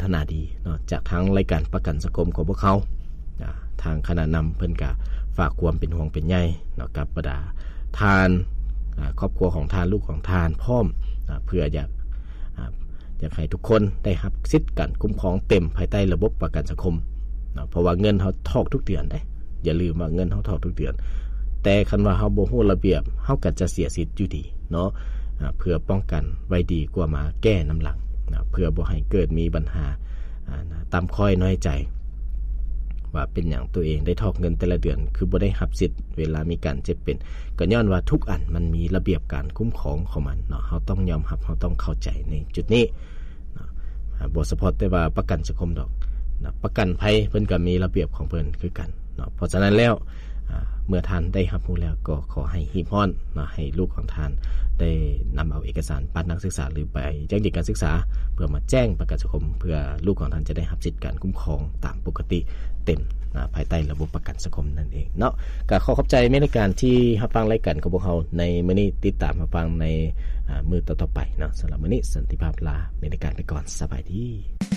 ສະໜາດີເນາະ ຈາກທາງລາຍການປະກັນສັງຄົມຂອງພວກເຮົາ. ອາ ທາງຄະນະນຳເພິ່ນກະຝາກຄວາມເປັນຫ່ວງເປັນໃຍເນາະ ກັບບັນດາທ່ານ ອາ ຄອບຄົວຂອງທ່ານ ລູກຂອງທ່ານພ້ອມ ອາ ເພື່ອຢາກ ອາ ຢາກໃຫ້ທຸກຄົນໄດ້ຮັບສິດການຄຸ້ມຄອງເຕັມພາຍໃຕ້ລະບົບປະກັນສັງຄົມເນາະ ເພາະວ່າເງິນເຮົາຖອກທຸກເດືອນເດ້. ຢ່າລືມວ່າເງິນເຮົາຖອກທຸກເດືອນ, ແຕ່ຄັນວ່າເຮົາບໍ່ຮູ້ລະບຽບ ເຮົາກໍຈະເສຍສິດຢູ່ດີເນາະ. ອາ ເພື່ອປ້ອງກັນໄວ້ດີກວ່າມາແກ້ນຳຫຼັງນະ, ເພື່ອບໍ່ໃຫ້ເກີດມີບັນຫາ ອາ ຕ່ຳຂ້ອຍນ້ອຍໃຈ ວ່າເປັນຫຍັງຕົວເອງໄດ້ຖອກເງິນແຕ່ລະເດືອນ ຄືບໍ່ໄດ້ຮັບສິດເວລາມີການເຈັບເປັນ, ກໍຍ້ອນວ່າທຸກອັນມັນມີລະບຽບການຄຸ້ມຄອງຂອງມັນເນາະ. ເຮົາຕ້ອງຍອມຮັບ, ເຮົາຕ້ອງເຂົ້າໃຈໃນຈຸດນີ້. ເນາະ ອາ ບໍ່ສະເພາະແຕ່ວ່າປະກັນສັງຄົມດອກເນາະ, ປະກັນໄພເພິ່ນກໍມີລະບຽບຂອງເພິ່ນຄືກັນເນາະ. ເພາະສະນັ້ນແລ້ວ ອາ ເມື່ອທ່ານໄດ້ຮັບຮູ້ແລ້ວ ກໍຂໍໃຫ້ຮີບຮ້ອນເນາະ, ໃຫ້ລູກຂອງທ່ານໄດ້ນຳເອົາເອກະສານບັດນັກສຶກສາ ຫຼື ໃບຢັ້ງຢືນການສຶກສາ ເພື່ອມາແຈ້ງປະກັນສັງຄົມ ເພື່ອລູກຂອງທ່ານຈະໄດ້ຮັບສິດການຄຸ້ມຄອງຕາມປົກກະຕິເຕັມ ອາ ພາຍໃຕ້ລະບົບປະກັນສັງຄົມນັ້ນເອງເນາະ. ກໍຂໍຂອບໃຈແມ່ນລາຍການທີ່ຮັບຟັງລາຍການຂອງພວກເຮົາໃນມື້ນີ້, ຕິດຕາມຮັບຟັງໃນ ອາ ມື້ຕໍ່ໆໄປເນາະ. ສຳລັບມື້ນີ້ ສັນຕິພາບລາແມ່ນລາຍການໄປກ່ອນ. ສະບາຍດີ.